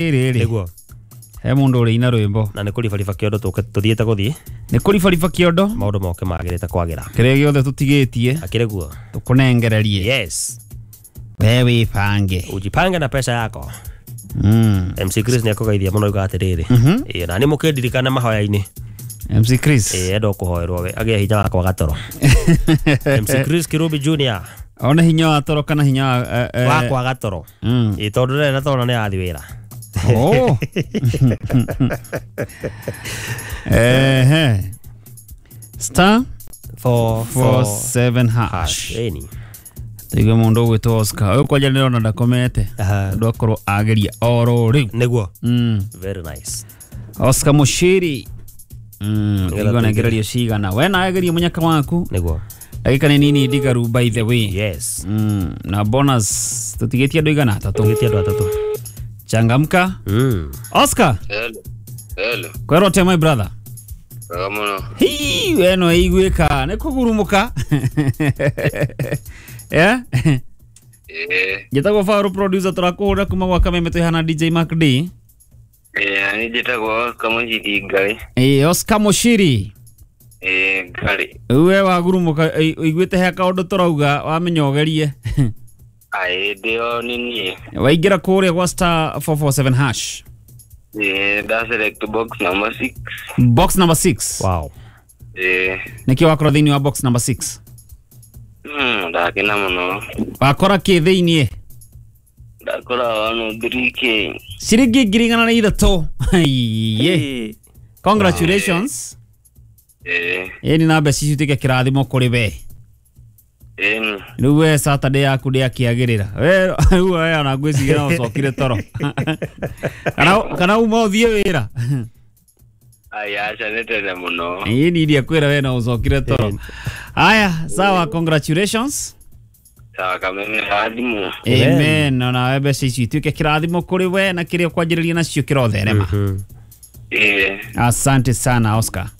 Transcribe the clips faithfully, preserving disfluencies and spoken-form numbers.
Rĩrĩ Nĩguo. He mũndũ ũrĩ ina rwĩmbo. Na nĩ kũribariba kĩondo tũke tũthiĩte gũthiĩ. Nĩ kũribariba kĩondo. Maũndũ moke magĩrĩte kwagĩra. Kĩrĩa gĩothe tũtigĩtie. Akĩrĩ guo. Tũkũnengererie. Yes. We wĩbange. Ujipange na pesa yako. Mm. M C Chris nĩ akũgeithia mũno auga atĩrĩrĩ. Mhm. Ĩĩ na nĩ mũkĩndirikane mahoya-inĩ. M C Chris. Ĩĩ enda kũhoerwo we agĩe hinya wa kwaga toro. M C Chris Kirubi Junior. One hinya wa toro kana hinya wa eh, eh, wa kwaga toro. Mm. Ĩĩ tondũ ndarĩ na toro nĩ arathiĩ wĩra. Oh. Ehe. Star four four seven hash. Ĩni. Tuigue mundu ugwitwo Oscar uyu kwanja ndirona ndakomete tondu akorwo ageria oro riu. Niguo. Mm. Very nice. Oscar Mushiri. Mm, igua nengererio cigana. We nawe geria munyaka waku. Niguo. Ndagika nĩ nini ndigaru by the way. Yes. Mm, na bonus tutigetie andu igana atatu. Tutigetie andu atatu. Changamka. Mm. Oscar. Hello. Hello. Kwero te my brother. Wega muno. Hii we no iguika nĩ kũgurumuka. Yeah? Eh. Njĩtagwo Faru producer tũrakũhũrĩra kuma gwa Kameme twĩ hana D J Mark D. Eh, ni njĩtagwo Oscar Mushiri Ngarĩ. Eh, Oscar Mushiri. Eh, Ngarĩ. We wagurumuka ũiguĩte he kaũndũ tũrauga wamenya ũgerie. Aĩ ndĩo nĩ niĩ. Waingĩra kũrĩa gwa star four four seven hash. Eh, nda select box number six. Box number six. Wow. Eh. Nĩkĩ wakora thĩinĩ wa box number six? Mm, ndakena mũno. Wakora kĩ thĩinĩ? Ndakora one three K. Ciringi ngiri igana na ithatũ. Ye. Congratulations. Eh. Ĩni na mbeca ici ituĩke kĩrathimo kũrĩ we. Ĩni. Rĩu we Saturday yaku ndĩakĩagĩrĩra. We rĩu we ona ngwĩciria no ũcokire toro. Kana kana uma ũthiĩ wĩra. Ai aca nĩ tene mũno. Ĩni iria kwĩra we no ũcokire toro. Aya, sawa, congratulations. Sawa, Kameme rathimo. Amen. Ona we mbeca ici ituĩke kĩrathimo kũrĩ we na kĩrĩa ũkwanjĩrĩria nacio kĩrotherema. Eh. Asante sana Oscar.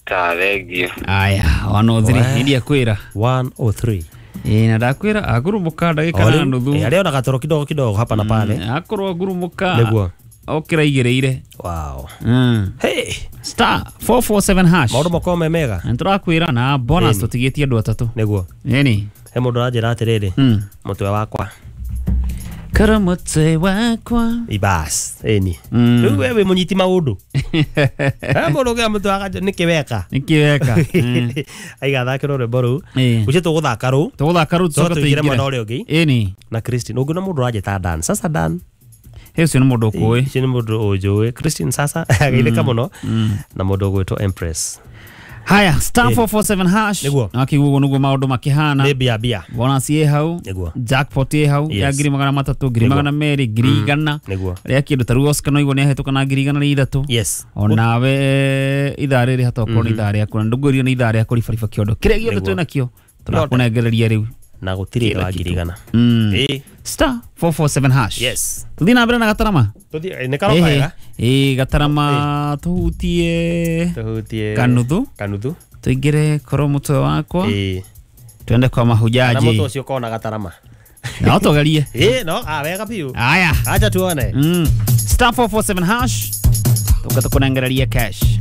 Ta thank you. Aya, one oh three iria kwĩra. one oh three. Ĩĩ na ndakwĩra agurumuka ndagĩka na nuthu. Eh, arĩa ona gatoro kidogo kidogo hapa na pale. Akorwo agurumuka. Nĩguo. Okĩra igĩrĩire. Wow. Mm. Hey. Star four four seven hash. Maũndũ makorwo me mega. Na tũrakwĩra na bonus tũtigĩtie andũ atatũ. Nĩguo. Ĩni. He mũndũ aranjĩra atĩrĩrĩ. Mm. Mũtwe wakwa. Kara mũtwe wakwa. Ibas. Ĩni. Mm. Rĩu we wĩ mũnyiti maũndũ. He mũndũ ũngĩ mũtwe waka nĩkĩ weka. Nĩkĩ weka. Aiga thakĩrwo rwĩmbo rũu. Ĩĩ. Ũcio tũgũthaka rũu. Tũgũthaka rũu tũcoke tũingĩre mwena tũingĩre. ũrĩa ũngĩ. Ĩni. Na Christine. Ũngĩ na mũndũ ũranjĩta Dan. Sasa Dan. He ũcio nĩ mũndũ ũkũĩ. Ũcio nĩ mũndũ ũnjũĩ. Christine sasa ageithĩka mũno. Na mũndũ ũgwĩtwo Empress. Haya, star four four seven hash. Nĩguo. Na kiguo nĩguo maũndũ makĩhana. Nĩ mbia mbia. Bonus ĩ hau. Nĩguo. Jackpot ĩ hau ya Yes. ngiri magana matatũ, ngiri Nĩguo. magana merĩ, ngiri igana. Nĩguo. Rĩa kĩndũ ta rĩu Oscar no igua nĩ ahĩtũka na ngiri igana rĩa ithatũ. Yes. Onawe ithaa rĩrĩ hatokorwo nĩ ithaa rĩaku na ndũngwĩrio nĩ ithaa rĩa kũribariba kĩondo. Kĩrĩa gĩothe Nĩguo. twĩ nakĩo tũrakũnengereria rĩu. Na gũtirĩ wa ngiri igana. Mm. Ĩĩ. Star four four seven hash. Yes. Tũthiĩ na mbere na gatarama. Tũthiĩ nĩ karoka wega. Ĩĩ gatarama tũhutie Tũhutie kanuthu. Kanuthu. Tũingĩre korwo mũtwe wakwa. Ĩĩ. Twende kwa Na mahujaji. mũtwe ũcio ũkorwo na gatarama. No tũgerie. Ĩĩ no, ah wega biũ. Aya. Acha tuone. Mm. Star four four seven hash. Tũka tũkũnengereria cash.